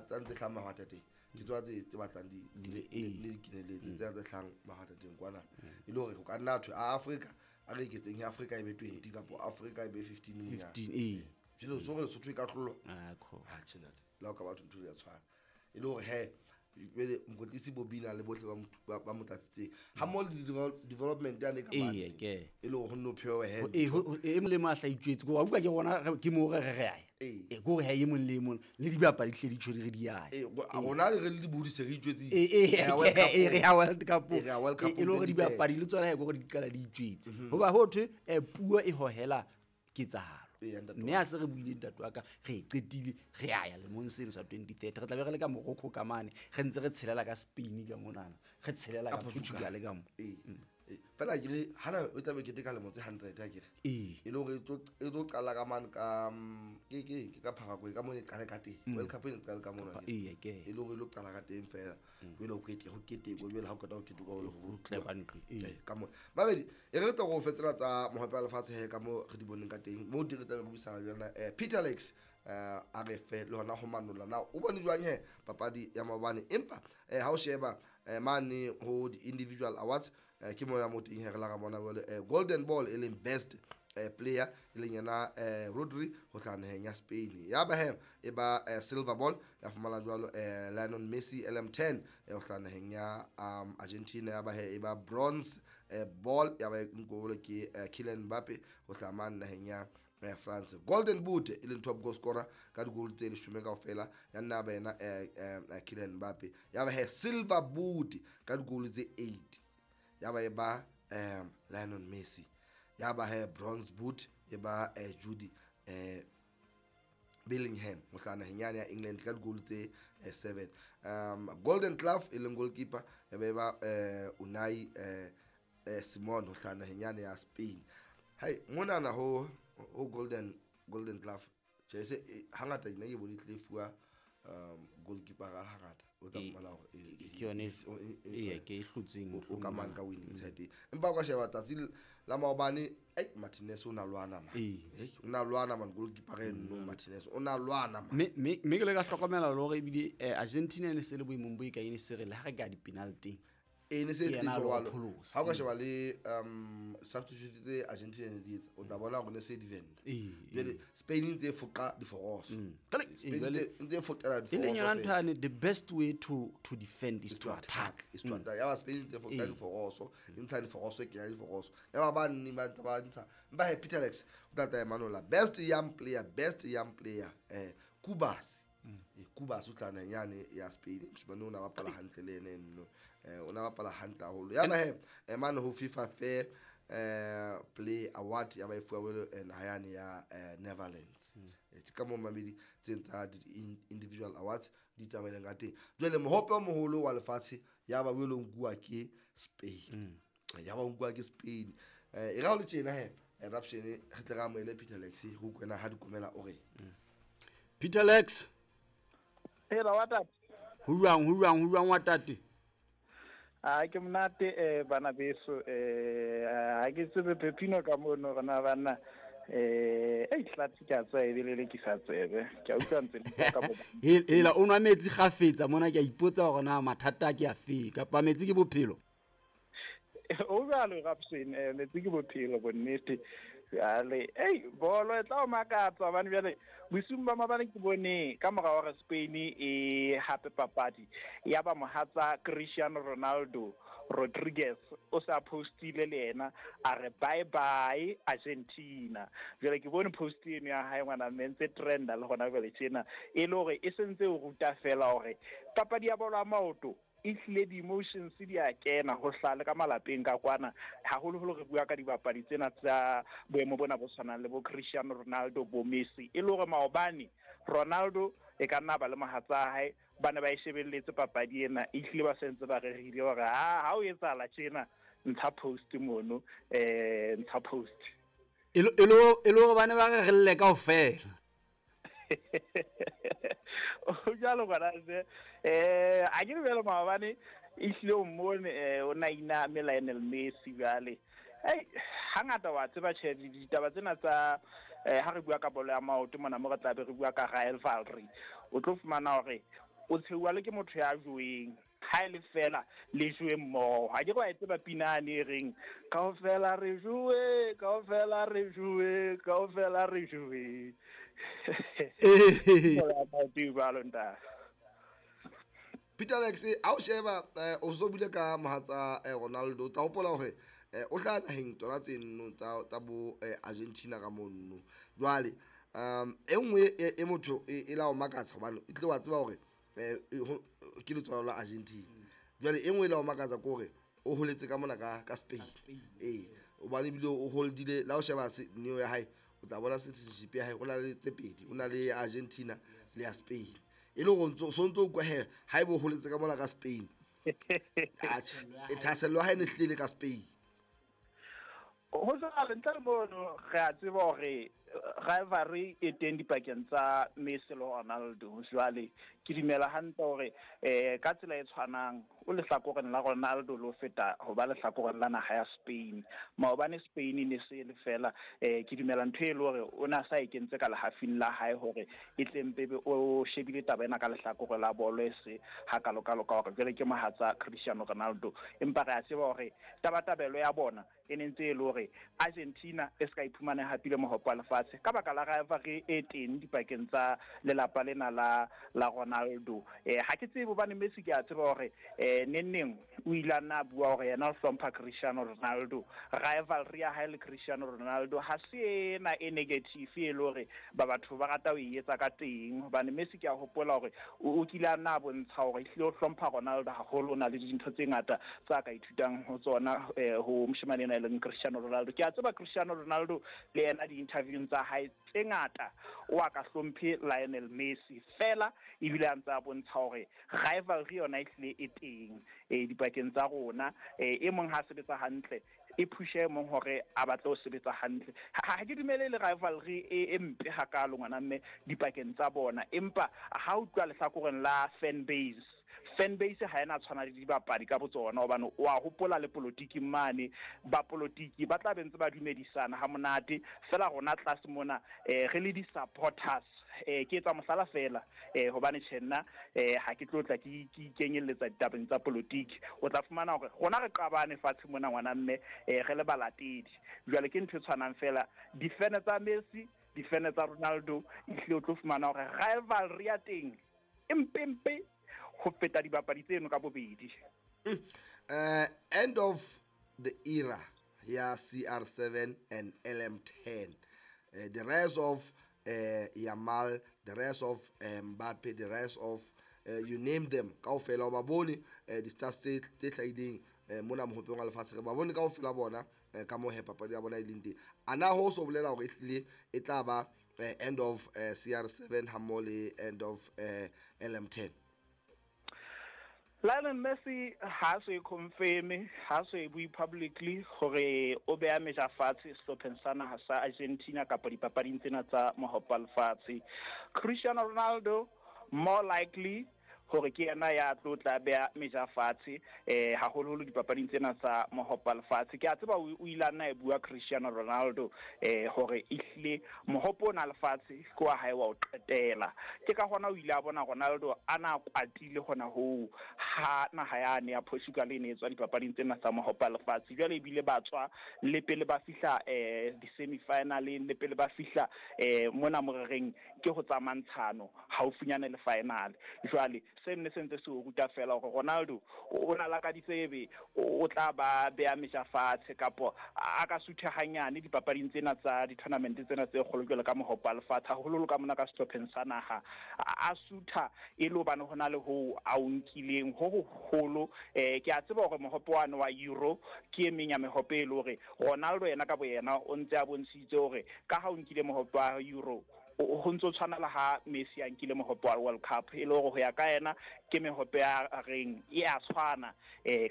tsa ntse hlahang mahwatateng ke tsona tse batlang di le keneletse tse tse hlahang mahwatateng kwana e le hore ho ka nna thwe a Afrika a re eketseng ya Afrika e be 20 kapa Afrika e be 15 monyane. 15 ee. Jwale so re Lesotho e ka hlolwa. Ah, kho. Ha tjhe ntate, le ha o ka batho ntho ya tshwana. E le hore he jwale mokwetlisi Bobina le bohle ba mo tlatsitseng ha mmoho le development yane ka mane. Ee, ke. E le hore ho nno phewe he. Ee, e mong le mong a hlaitswetse, ke hore wa utlwa ke rona ke moo re re a ya. Ee. Ee, ke hore ha e mong le mong le dibapadi hle di tjho di re di ya. Ee, rona re le dibudi se re itjwetsitse. Ee, ee, Re ya World Cup ee, re ya World Cup. Ee, re ya World Cup Ee, e le hore 2030. dibapadi le tsona he ke hore di qala di itjwetse. Hoba ho thwe, puo e hohela ketsahalo. Ee, ntate Mme wa ha se re buile ntate wa ka, re e qetile, re a ya lemong seno sa 2030. Re tla be re le ka Morocco ka mane, re ntse re tshelela ka Spain ka monana, re tshelela ka Ka Portugal. Portugal ka mo. Ee. Ee. Fela ke re, hana o tla be keteka lemo tse 100 ha ke re. Ee. E le hore e tlo qala ka mane ka, ke ka Paraguay, ka mona e qale ka teng. World Cup e ne qale ka mona. Ee, ke. E le hore e lo qala ka teng fela. Jwale ho kete, ho ketekwe, jwale ha o qeta ho ketekwa, ho le ho Tle ka nqe, ee. Ee, ka mona. Mabedi, e re tlo go fetola tsa mohope wa lefatshe he ka mo re di boneng ka teng. Mo di re tla be re buisana le yona, Peter Alex, a re fe le hona ho manolla. Na o bone jwang he papadi ya maobane? Empa, ha o sheba, mane ho di-individual awards, ke mona mo teng he re la ra bona jwale, Golden Ball e leng best, player e leng yena, Rodri ho hlaha naheng ya Spain. Ya ba he e ba, Silver Ball ya fumana jwalo, Lionel Messi LM10, ho hlaha naheng ya, Argentina. Ya ba he e ba Bronze, Ball ya ba e nkuwe ke, Kylian Mbappe ho hlaha mane naheng ya, France. Golden Boot e leng top goal scorer ka di-goal tse leshome kaofela ya nna ba yena, Kylian Mbappe. Ya ba he Silver Boot ka di-goal tse 8 ya ba e ba, Lionel Messi. Ya ba he Bronze Boot e ba, Jude, Bellingham ho hlaha naheng yane ya England ka di-goal tse, 7. Golden Glove e leng goalkeeper ya ba e ba, Unai, Simon ho hlaha naheng yane ya Spain. Hai, monana ho Golden Glove, tjhe, se, hangata nna ke bone e tlile fuwa, goalkeeper ga hangata o tla Ee, fumana hore ke yone ee, ke e hlotseng o ka mohlomong. mane ka winning side. Empa o ka sheba tsatsi la maobane, ei, Martinez o na lwana man. Ee. Ei, o na lwana man, goalkeeper e nno Martinez o na lwana man. Mme ke le ka hlokomela le hore ebile, Argentina e ne se le boemong bo e ka e ne se re le ha re ka di-penalty. Ee, ne se Ke yena tlile a lo jwalo. pholosa. Ha o ka sheba le, substitutes tse Argentina ne di etsa, o tla bona hore ne se di venda. Ee, Jwale Spain e ntse e foqa diforoso. Kale, Spain ee, jwale e ntse e foqela e leng diforoso yona ntho fela. yane, the best way to defend is Is to to attack. attack. Is to attack. Ya ba Spain e ntse e foqa Ee. diforoso, e ntsha diforoso, e kenya diforoso. Ya ba ba nne ba ntse ba ntsha. Empa he, Peter Alex, o tla tla Emmanuel, best young player, best young player, Kubas. Kubas o tla naheng yane ya Spain. Moshemane o na bapala hantle le ene nno. O na bapala hantle haholo. Ya ba he, mane ho FIFA Fair, Play Award ya ba e fuwa jwalo, naha yane ya, Netherlands. Ke ka moo mamedi tse tsa individual awards di tsamaileng ka teng. Jwale mohope o moholo wa lefatshe ya ba o lo nkuwa ke Spain. Ya ba o nkuwa ke Spain. E ra o le tjena he, Raption, re tle re amohele Peter Lex, re utlwe na ha di komela o re. Peter Lex. Hela wa tate. Ho jwang, ho jwang, ho jwang wa tate? Ah, ke monate, bana beso, ha ke tsebe Pepino ka mono rona bana, ei, tlatse ke a tswa e bele le ke sa tsebe. Ke a utlwa ntse le bua ka bo- Hela, o nwa metsi kgafetsa mona, ke a ipotsa hore na mathata a ke a fe, kapa metsi ke bophelo? O jwalo, Rapson, metsi ke bophelo, bonnete. Jwale, ei, bolo e tla o makatsa hobane jwale bosiung ba maobane ke bone ka mora hore Spain e hape papadi ya ba mohatsa Cristiano Ronaldo Rodriguez o sa postile le yena a re bye bye Argentina. Jwale ke bone post eno ya hae ngwana mme ntse trenda le hona jwale tjena, e le hore e sentse o ruta fela hore papadi ya bolo ya maoto e hlile di-emotions di a kena ho hlaha le ka malapeng ka kwana, haholoholo re bua ka dibapadi tsena tsa boemo bona bo tshwanang le bo Cristiano Ronaldo, bo Messi. E le hore maobane Ronaldo e ka nna ba le mohatsa hae ba ne ba e shebelletse papadi ena, e hlile ba sentse ba rerile hore ha o etsahala tjena ntsha post mono, ntsha post. E le hore ba ne ba re re lle kaofela. O jwalo ngwana se, a ke re jwalo maobane e hlile o mmone, o na iname Lionel Messi jwale. Ei, hangata wa tseba tjhe, ditaba tsena tsa, ha re bua ka bolo ya maoto mona mo re tla be re bua ka rivalry, o tlo fumana hore O tsheuwa le ke motho ya joweng ha e le fela le jowe mmoho. Ha ke re wa e tseba pina yane e reng kaofela re jowe, kaofela re jowe, kaofela re jowe. Jwalo ntate. Peter Alex, ha o sheba o so bule ka mohatsa Ronaldo, o tla hopola hore o hlaha naheng tsona tseno tsa bo Argentina ka mono. Jwale e nngwe e motho e la o makatsa hobane e tle wa tseba hore ke letswalo la Argentina. Jwale e nngwe e la o makatsa ke hore o holetse ka mona ka Spain. Ee, hobane ebile o holdile la o sheba neo ya hae, o tla bona citizenship ya hae, o na le tse pedi, o na le ya Argentina le ya Spain. E le hore so ntso utlwa he ha ebe o holetse ka mona ka Spain. Atjhe, e thahasello ya hae ne hlile ka Spain. Ho jwalo, ntle le mono re a tseba hore rivalry e teng dipakeng tsa Messi le Ronaldo. Jwale ke dumela hantle hore ka tsela e tshwanang o lehlakoreng la Ronaldo le ho feta ho ba lehlakoreng la naha ya Spain. Maobane Spain e ne se le fela, ke dumela ntho e le hore o na sa e kentse ka lehafing la hae hore e tle mpebe o shebile taba ena ka lehlakore la bolo e se hakalokalo ka hore jwale ke mohatsa Cristiano Ronaldo. Empa re a tseba hore tabatabelo ya bona e ne ntse e le hore Argentina e ska iphumana hapile mohope wa lefatshe ka baka la rivalry e teng dipakeng tsa lelapa lena la Ronaldo. Ha ke tsebe hobane Messi ke a tseba hore neng o ile a nna a bua hore yena o hlompha Cristiano Ronaldo. Rivalry ya hae le Cristiano Ronaldo ha se ena e negative e le hore ba batho ba rata ho e etsa ka teng, hobane Messi ke a hopola hore o kile a nna a bontsha hore ehlile o hlompha Ronaldo haholo, o na le dintho tse ngata tsa ka ithutang ho tsona ho moshemane ena e leng Cristiano Ronaldo. Ke a tseba Cristiano Ronaldo le yena di-interviewng tsa hae tse ngata o a ka hlomphe Lionel Messi fela, ebile a ntse a bontsha hore rivalry yona ehlile e teng dipakeng tsa rona. E mong ha sebetsa hantle e phushe e mong hore a batle ho sebetsa hantle. Ha ke dumele le rivalry e mpe hakalo ngwana mme dipakeng tsa bona, empa ha o utlwa lehlakoreng la fan base, fan base ha ena tshwana le dibapadi ka botsona, hobane o a hopola le politiki mane, ba politiki ba tla be ntse ba dumedisana ha monate fela. Rona tlase mona re le di-supporters, ke etsa mohlala fela, hobane tjhe nna ha ke tlo tla ke ikenyelletsa ditabeng tsa politiki. O tla fumana hore rona re qabane fatshe mona ngwana mme, re le balatedi. Jwale ke ntho e tshwanang fela, difene tsa Messi, difene tsa Ronaldo, ehlile o tlo fumana hore rivalry ya teng e mpempe ho feta dibapadi tseno ka bobedi. End of the era ya CR7 and LM10. The rest of Yamal, the rest of Mbappe, the rest of you name them, kaofela o ba bone di-stars tse hlahileng mona mohopeng wa lefatshe, re ba bone kaofela bona ka moo he papadi ya bona e leng teng. A na ho so bolela hore ehlile e tla ba end of CR7 hammoho le end of LM10? Lionel Messi ha so e confirm, ha so e bue publicly hore o beha meja fatshe sehlopheng sa naha sa Argentina kapa dipapading tsena tsa mohope wa lefatshe. Cristiano Ronaldo more likely hore ke yena ya tlo tla beha meja fatshe haholoholo dipapading tsena tsa mohope wa lefatshe. Ke a tseba o ile a nna e bua Cristiano Ronaldo hore ehlile mohope ona lefatshe ke wa hae wa ho qetela. Ke ka hona o ile a bona Ronaldo a na kwatile hona hoo ha naha yane ya Portugal e ne e tswa dipapading tsena tsa mohope wa lefatshe. Jwale ebile ba tswa le pele ba fihla di-semi-finaleng, le pele ba fihla mona morereng ke ho tsa mantshano haufinyane le final. Jwale se nne se ntse se o ruta fela hore Ronaldo o na lakaditse ebe o tla ba beha meja fatshe kapo a ka suthe hanyane dipapading tsena tsa di-tournament tsena tse kgolo jwalo ka mohope wa lefatshe, haholoholo ka mona ka sehlopheng sa naha. A sutha e le hobane hona le ho a o nkileng ho hoholo. Ke a tseba hore mohope wane wa Euro ke e meng ya mehope e le hore Ronaldo yena ka boyena o ntse a bontshitse hore ka ha o nkile mohope wa Euro ho ntso tshwana le ha Messi a nkile mohope wa World Cup, e le hore ho ya ka yena ke mehope ya reng e a tshwana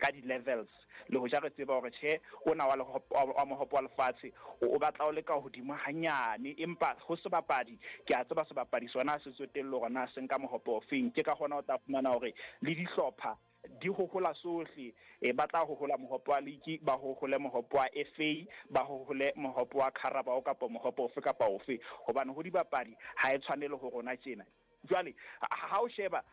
ka di-levels. Le hoja re tseba hore tjhe ona wa mohope wa lefatshe o batla o le ka hodimo hanyane, empa ho sebapadi ke a tseba sebapadi sona se tsotelle hore na se nka mohope ofeng. Ke ka hona o tla fumana hore le dihlopha di hohola sohle, ba tla hohola mohope wa league, ba hohole mohope wa FA, ba hohole mohope wa Carabao kapa mohope ofe kapa ofe, hobane ho dibapadi ha e tshwanele ho rona tjena. Jwale ha o sheba